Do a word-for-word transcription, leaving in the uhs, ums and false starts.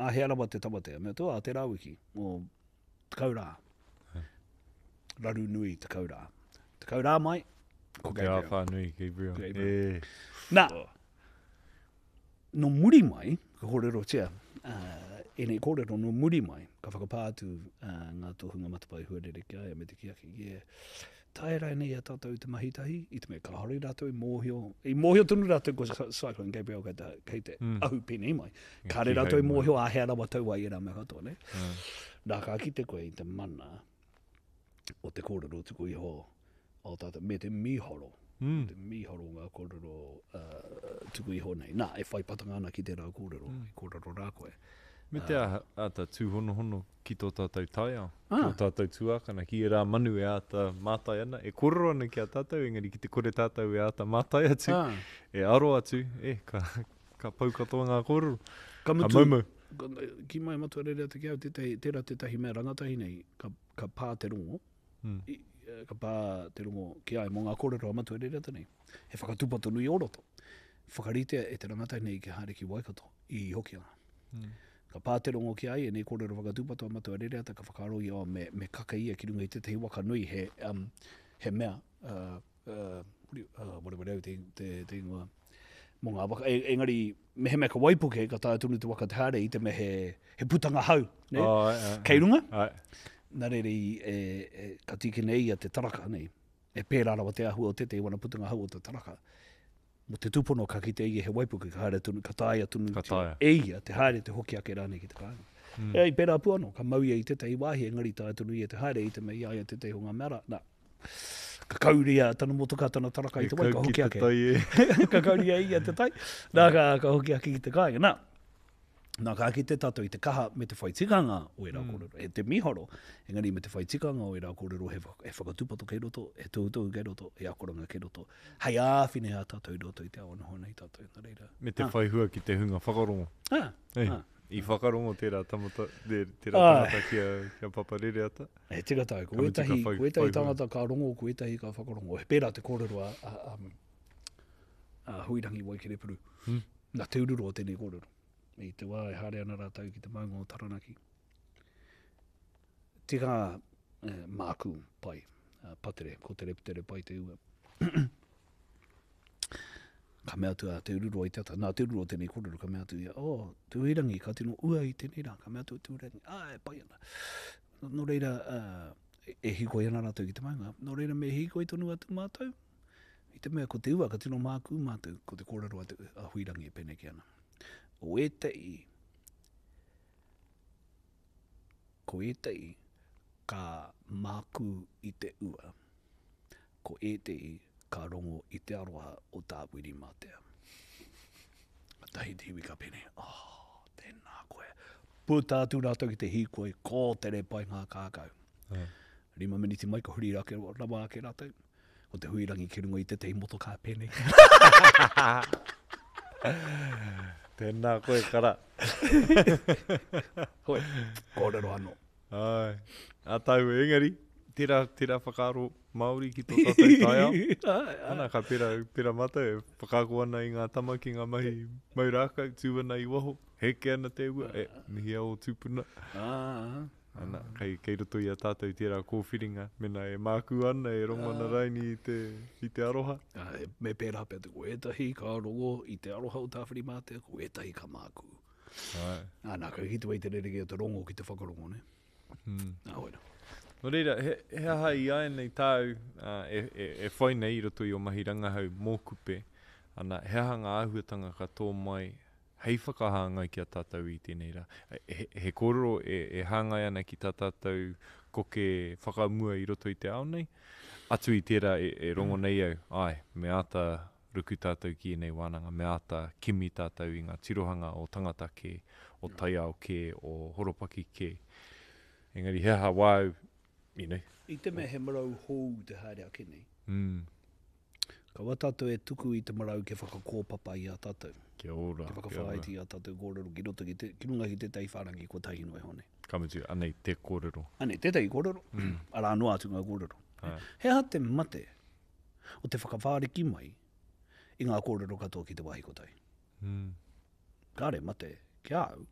Āhea rawa te tamatea? Mea atu, ā, tērā wiki, o tekau rā. Raru nui tekau rā. Tekau rā mai, ko Ko te Gabriel. āwhā nui, Gabriel. Gabriel. E. Nā, nō muri mai, ka kōrerotia, uh, ēnei kōrero nō muri mai, ka whakapā atu uh, ngā tohunga matapae huarere ki a ia me te kī ake, yeah, tae rānei i a tātou te mahi tahi, i te mea kāore rātou i mōhio, i mōhio tonu rātou ko Cyclone Gabriel kei te, kei te Mm. ahu pēnei mai. E Kāre kīhai rātou i mai. mōhio āhea rawa tau ai ērā mea katoa, ne? Mm. Nā, ka kite koe i te mana o te kōrero tuku iho o tātou, me te mīharo, Mm. te mīharo o ngā kōrero uh, tuku iho nei. Nā, e whai patanga ana ki tērā kōrero, Mm. i kōrero rā koe. Me te aha, āta tūhonohono ki tō tātou taiao, Ah. ki tō tātou tuākana, ki ērā manu e āta mātai ana, e kōrero ana ki a tātou, engari ki te kore tātou e āta mātai atu, Ah. e aro atu, e, ka, ka pau katoa ngā kōrero. Ka Ka mutu, maumau. ka- ki mai matua rere atu ki au, tētahi, tērā tētahi mea rangatahi nei, ka, ka pā te rongo, Mm. i, eh, ka pā te rongo ki ai mō ngā kōrero a matua rere atu nei. He whakatūpato nui o roto. Whakaritea e te rangatahi nei ki haere ki Waikato, i Hokianga. Mm. Ka pā te rongo ki a ia, nei kōrero whakatūpato a matua Rereata, ka whakaaro ia, oh, me, me kaka ia ki runga i tētahi waka nui, he, um, he mea, uh, uh, uh, wareware au te, te, te ingoa, mō ngā waka, e, engari, mehemea ka waipuke, ka taea tonu te waka te haere i te mea he, he putanga hau, ne? Oh, ai, ai, Kei runga? Ai. Nā reira i, e, e, ka tīkina e ia te taraka, nei? E pērā rawa te āhua o tētahi wana putanga hau o te taraka. Mō te tūpono ka kite ia he waipuke, ka haere tonu, ka taea tonu Ka taea. e ia te haere te hoki ake rānei ki te kāinga. Mm. E, i pērā pū anō, ka mau ia i tētahi wāhi, engari taea tonu ia te haere i te mea i a ia tētahi o ngā mea rā. Nā, ka kauria tana motoka, tana taraka i E te wai, kau ka ki hoki te ake. tai e. Ka kauria ia te tai, nā, ka, ka hoki ake ki te kāinga. Nā, nā, ka kite tātou i te kaha me te whai tikanga o ērā Mm. kōrero. E te mīharo, engari me te whai tikanga o ērā kōrero, he, whak- he whakatūpato kei roto, he tohutohu kei roto, he akoranga kei roto. Hei āwhina i a tātou i roto i te ao noho nei tātou, nā reira. Me te Ah. whai hua ki te hunga whakarongo. Ah, Ei, ah. I whakarongo tērā tamata, tērā Ai. tangata ki a, ki a Papa Rereata. E tika tāu, ko Ka mutu ka ētahi, whai- ko ētahi whai hua. tangata ka rongo, ko ētahi ka whakarongo. He pērā te kōrero a, a, a, a Huirangi Waikerepuru. Hmm. Nā Te Ururoa tēnei kōrero. I te wā e haere ana rātou ki te maunga o Taranaki. Tika eh, māku pai, uh, patere, ko te reputere pai te ua. Ka mea atu a Te Ururoa i te ata, nā Te Ururoa tēnei kōrero, ka mea atu ia, oh, Te Huirangi, ka tino ua i tēnei rā, ka mea atu a Te Huirangi, ah, e pai ana. Nō reira, uh, e, e hīkoi ana rātou ki te maunga, nō reira me hīkoi tonu atu mātou, i te mea ko te ua, ka tino mākū mātou, ko te kōrero a, te, a Huirangi e pēnei ana. O ētahi, ko ētahi ka mākū i te ua, ko ētahi ka rongo i te aroha o Tāwhirimātea. Ka tahi te iwi ka pēnei, oh, tēnā koe. Puta atu rātou ki te hīkoi, ko tere pai ngā kākau. Ai. Rima miniti mai ka huri rake, rawa ake rātou. Ko te Huirangi ki runga i tētahi motokā pēnei. Tēnā koe, kara. Hoi, kōrero anō. Ai. A tāu engari, tērā, tērā whakaaro Māori ki tō tātou taiao. Ai, ai. Ana, ka pera, pera mātou e whakaako ana i ngā tama ki ngā mahi mau rākau, tū ana i waho, heke ana te ua, e, mihia o tūpuna. Ah, ah. Ana, kei, kei roto i a tātou tērā kōwhiringa, mena e mākū ana, e rongo ana raini i te, i te aroha. Ah, e- me pērā pea te ko ētahi ka rongo i te aroha o Tāwhirimātea, ko ētahi ka mākū. Ai. Ah, nā, ka kite wei te rerekē o te rongo ki te whakarongo, ne? Mm. Nā, hoi rā. Nō reira, he, he aha i ai nei tāu uh, e, e, e whai nei i roto i o mahi rangahau mō Kupe, ana, he aha ngā āhuatanga ka tō mai hei whakahāngai ki a tātou i tēnei rā. He, he kōrero e, e hāngai ana ki tā tātou koke whakamua i roto i te ao nei. Atu i tērā e, e rongo nei au, ai, me āta ruku tātou ki ēnei wānanga, me āta kimi tātou i ngā tirohanga o tangata kē, o taiao kē, o horopaki kē. Engari he aha wāu, you know. I te mea he marau hou te haere ake nei. Mm. Kaua tātou e tuku i te marau kia whakakōpapa i a tātou. Kia ora. Kia kia ora. whakawhāiti i a tātou kōrero ki roto ki, te, ki runga ki tētahi whārangi kotahi noa iho nei. Ka mutu, anei te kōrero. Anei, tētahi kōrero, Mm. arā noa atu ngā kōrero. Ai. He aha te mate o te whakawhāriki mai i ngā kōrero katoa ki te wāhi kotahi. Mm. Kāre mate ki a au,